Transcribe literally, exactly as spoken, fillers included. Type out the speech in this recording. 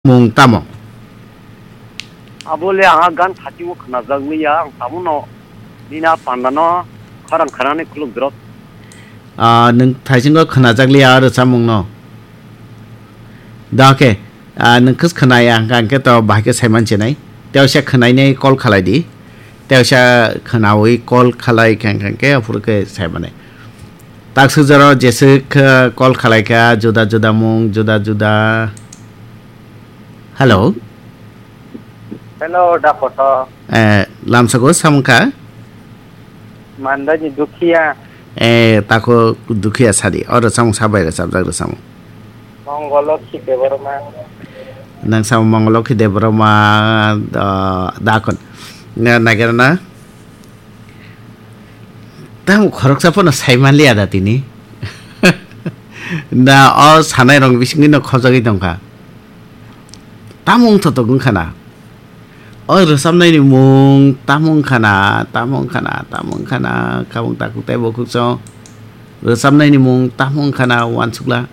mung tamo? Abo le ang gan khatingo khwnajak liya, ang tamono nini a panda no khorang khorang ni khuluk drop. Ah, nwng thaisingo khwnajak liya aro chamung no. Da khe, ah, nwng khwsa khwnaya hwnkha hwnkhe to bahai khe saiman chinai. Tei uaisa khwnainai call khalai di. Tei uaisa khwnawi call khalai khe hwnkha hwnkhe aphuru khe saimanai. Taksuk jora jeswk, eh, call khalai kha, juda juda mung, juda juda. Hello. Hello, da koto. Eh, lamsako samung kha? Mandani Dukhiya. Eh, tako Dukhiya sadi. Oro samung sabai rwchapjak rw samung. Mongolokhi Debbarma. Nang samung Mongolokhi Debbarma, da, dakon. Na, nagira na? Tamo khoroksa phano sai manliya da tini. Da o sanai rok bisingwi no khojagwi tongkha. Tamo wngthotok wngkha na. O rwchapnai ni mung tamo wngkha na, tamo wngkha na, tamo wngkha na, khabung takhuk tei bukhuk chwng. Rwchapnai ni mung tamo wngkha na uansukla.